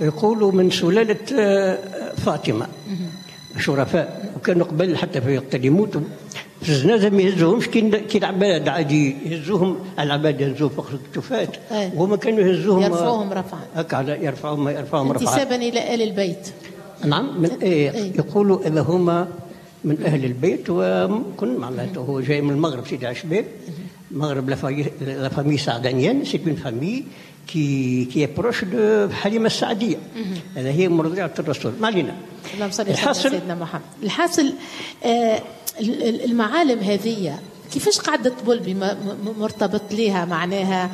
يقولوا من سلالة فاطمة، شرفاء، وكانوا قبل حتى في وقت اللي يموتوا في الجنازة ما يهزوهمش كي العباد عادي يهزوهم، العباد يهزوهم فوق الكتفات، وهما كانوا يهزوهم يرفعوهم رفعا هكا، يرفعوهم رفعا انتسابا إلى آل البيت. نعم، من إيه يقولوا إذا هما من أهل البيت، وكن معناته هو جاي من المغرب سيدي عشباب، المغرب la famille سعدانيان، c'est une famille qui est proche de حليمة السعدية، هذا هي مرضعة الرسول. ما علينا. اللهم صل على سيدنا محمد. الحاصل المعالم هذه كيفاش قاعدة طبلبي مرتبط ليها، معناها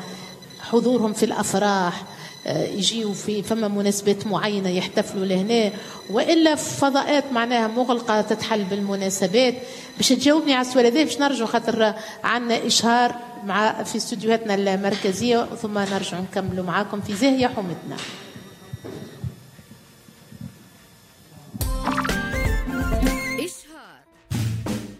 حضورهم في الأفراح، يجيوا في فما مناسبات معينة يحتفلوا لهنا، وإلا فضاءات معناها مغلقة تتحل بالمناسبات؟ باش تجاوبني على السؤال هذا باش نرجع، خاطر عندنا إشهار مع في استوديوهاتنا المركزية، ثم نرجع نكملوا معاكم في زاهية حومتنا. إشهار.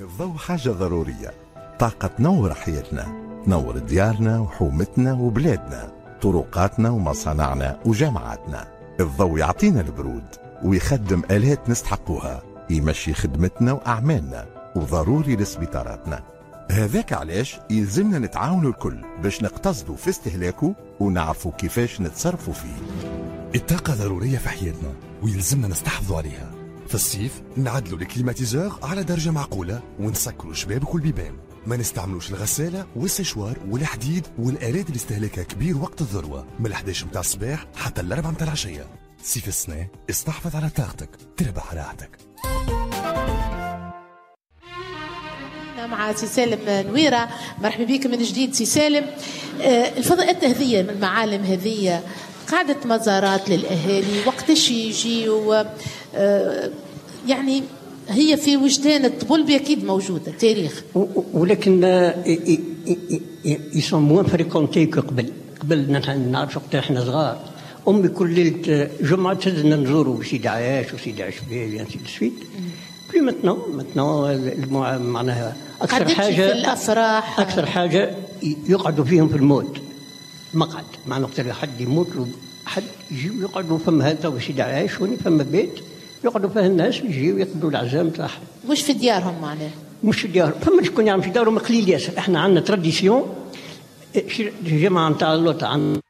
الضوء حاجة ضرورية، طاقة تنور حياتنا، تنور ديارنا وحومتنا وبلادنا، طرقاتنا ومصانعنا وجامعاتنا. الضوء يعطينا البرود ويخدم آلات نستحقوها، يمشي خدمتنا وأعمالنا، وضروري لسبيطاراتنا. هذاك علاش يلزمنا نتعاونوا الكل باش نقتصدوا في استهلاكه ونعرفوا كيفاش نتصرفوا فيه. الطاقة ضرورية في حياتنا ويلزمنا نستحفظوا عليها. في الصيف نعدلوا ال climatiseur على درجة معقولة ونسكروا شبابك والبيبان، ما نستعملوش الغسالة والسشوار والحديد والآلات اللي استهلاكها كبير وقت الذروة من 11 متاع الصباح حتى 4 متاع العشية. صيف السنة استحفظ على طاقتك تربح راحتك. مع سي سالم نويرة، مرحبا بك من جديد سي سالم. الفضاءات هذه المعالم هذه قاعدة مزارات للأهالي، وقتاش يجيوا؟ يعني هي في وجدان الطبلبي اكيد موجودة تاريخ، ولكن ils sont moins fréquentés que قبل. قبل نعرف وقت احنا صغار، امي كل ليلة جمعه تهزنا نزوروا سيدي عياش وسيدي عشبيل ainsi de suite. Plus maintenant معناها اكثر حاجة في الافراح، اكثر حاجة يقعدوا فيهم في الموت مقعد، معناها وقت حد يموت حد يجي يقعدوا فما هذا وسيدي عياش فما بيت يقعدوا فيه الناس يجيو يقضوا العزام تاعهم، مش في ديارهم معناها، مش في ديارهم. فما شكون يعمل في دارهم قليل ياسر. احنا عندنا tradition الجماعة نتاع اللوطه عندنا